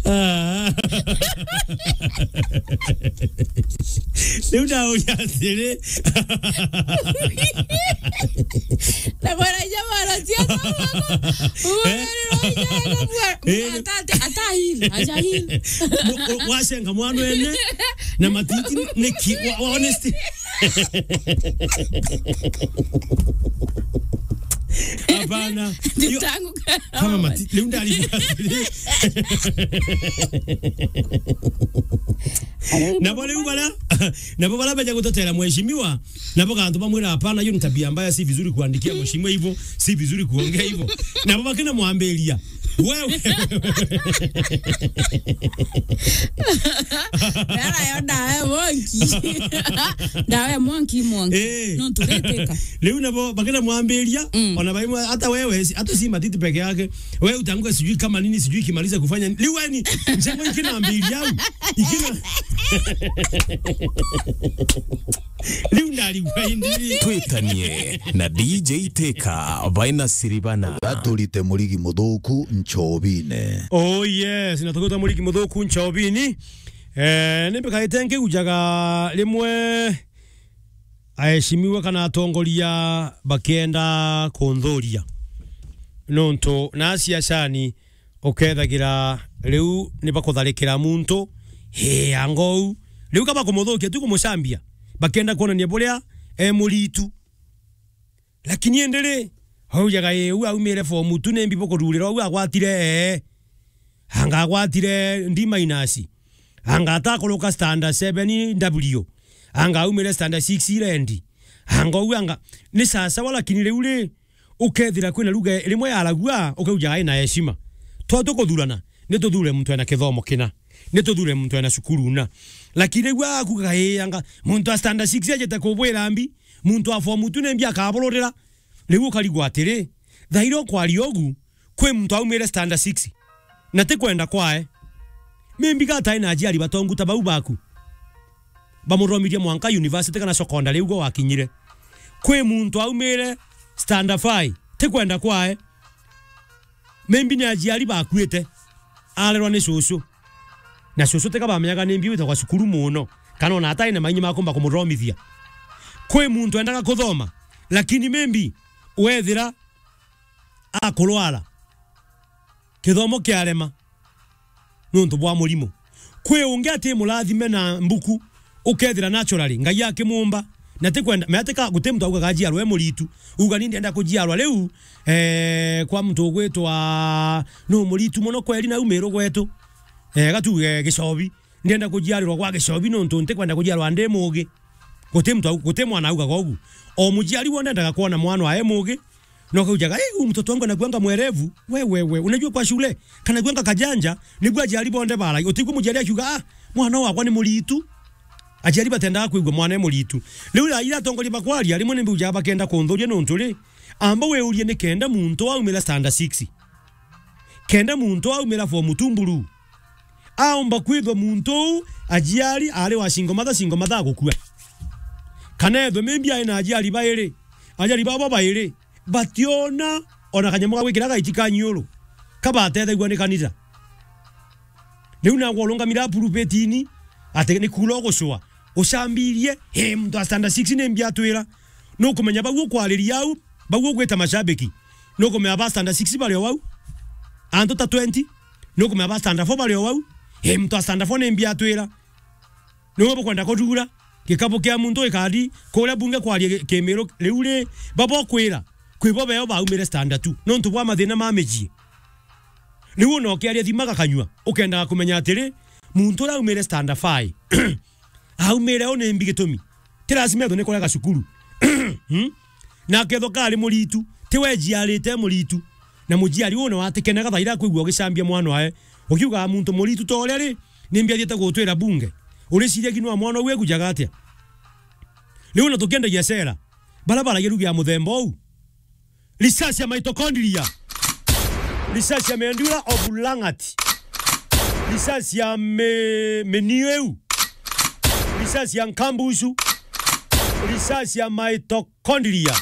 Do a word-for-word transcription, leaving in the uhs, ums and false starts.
Ah. Riu ndauria atiri. Na bwana ja bwana cia. Eh? Eh. Ata, ata, ata heal, aja heal. Mu-, u-, wacenga mwana ene na matiti niki, wa, wa honesty. Hapana. Yo, tangu kama mati, riu ndari. Nabo riu bara, nabo bara beja gutotera mheshimiwa, nabo gantu bamwira, "Hapana, hiyo ni tabia mbaya, si vizuri kuandikia mheshimiwa hivyo, si vizuri kuongea hivyo." Nabo bakina mwambiria. Wewe. Era yo ndawe monki. Ndawe monki, monki. Eh. No tureteka. Riu nabo bakina mwambiria, mm, ona baimwe, hata wewe, si-, hata si matiti peke yake. Wewe utanguka sijui kama nini, sijui kimaliza kufanya nini. Riu yani, njango ikina mbiria au. Ikina. Riu ndarigwa indiri. Twitanie na D J Teka, baina siribana. Gaturite murigi muthuku nchobine. Oh yes, na tukuta murigi muthuku nchobini. Eh, nimbikaite nkiujaga rimwe aheshimiwa kana atongoria bakienda kunthuria. Nontu na siasani ukethagira riu ni bakutharikira muntu, hii, anga uu. Riu ka bakumuthukia tu kumucambia, bakenda kwonania buria e muritu. Lakini indi ri, aujaga, "Ii, uu aumire form two, nimbi bukuthurira uu agwatire ee? Anga agwatire D minus? Anga atakuruka standard seven W? Anga aumire standard six land? Anga uu anga," ni sasawa, lakini riu ri, ukethira kwina lugha rimwe yaragua, ukaujaga ina heshima. Twa tukuthurana, ni tuthure muntu ena kithomo kina. Ni tuthure muntu ena cukuru na. Lakini riu akugaga, "Ii, anga muntu a standard six ajite kubwira mbi, muntu a form two nimbi akabururira?" Riu ukarigwa atiri, thaira ukwaria ugu, kwi muntu aumire standard six, na ti kwenda kwae. Maybe gatae na ajiari batongu ta bau baku. Bamuthomithia mwanka university kana secondary ugo wakinyire. Kwi muntu aumire standard five, ti kwenda kwae. Maybe ni ajiari bakuite, arerwa ni cucu. Na cucu teka bamenyaga ni mbi witagwa cukuru muno, kana ona atai na mainyi makumba kumuthomithia. Kwi muntu endaga kuthoma, lakini maybe wethira akurwara, kithomo kiarema nontu bwa murimo. Kwi ungi ati murathime na mbuku, ukethira naturally Ngai akimumba, na ti kwenda, me atika, guti muntu augaga ajiarwa e muritu. Uga ni ndienda kujiarwa riu, eh, kwa muntu ugwitwa, no muritu muno kweri na umiru gwetu. Eh, gatuge Gicobi. Ndienda kujiarirwa gwa Gicobi nontu nti kwenda kujiarwa ndi mugi. Guti muntu au-, guti mwana augaga ugu. O mujiari wonde endaga kwona mwana wae mugi, no kaujaga, "Eh, huyu mtoto wangu anakuanga mwerevu." We, we, we, unajua kwa shule, kanakuanga kajanja, niguo ajiari bonde barai. Utigua mujiari akiuga, "Ah, mwana wakwa ni muritu." Ajiari batendaga kwigua mwana e muritu. Riu ira atongoria bakwaria, rimwe ni mbiujaga bakenda kunthuria nontu ri, amba wiurie ni kenda muntu aumira standard six. Kenda muntu aumira form two mburu. Aumba kwithwa muntu uu ajiari ari wa single mother, single mother agukua. Kana ethwe maybe ai na ajiari bairi, ajiari babo bairi, bationa ona kanyamu ga gwikira gaiti ka nyiuru, kabatethagua ni kanitha. Riu nagwe urungamira pulpitini, ati ni kuura ugucua, ucambirie, "Hii, muntu a standard six ni mbi atwira." Nukumenya bau ukwariria au, bau ugwita mashabiki. Nukumenya ba standard six bari o au, antu ta twenty. Nukumenya ba standard four bari o au, "Hii, muntu a standard four ni mbi atwira." Niwe bukwenda kuthura gikabu kia muntu gikari kuria bunge kwaria ki-, kimiru. Riu ri, babo kwira, kwi bo beo baumire standard two nontu bwa mathina ma mijii. Riu ona ukiaria thimaga kanyua, ukendaga kumenya atiri, muntu uria aumire standard five, aumire u ni mbi gitumi? Ti lazima ethwe ni kurega cukuru. Hmm? Na akethwa kari muritu, ti we ejiarite muritu. Na mujiari uu nawe atikenaga thaira akwigua ugicambia mwana wae. Ukiugaga muntu muritu ta uria ri, ni mbi athiite gutwira bunge? Uriciria ki nwa mwana uu egujaga atia? Riu ona tukiendagia cera, bara baragia rugi ya muthemba uu. Risasi ya mitochondria. Risasi ya medulla oblongata. Risasi ya me-, menieu. Risasi ya nkambusu. Risasi ya mitochondria.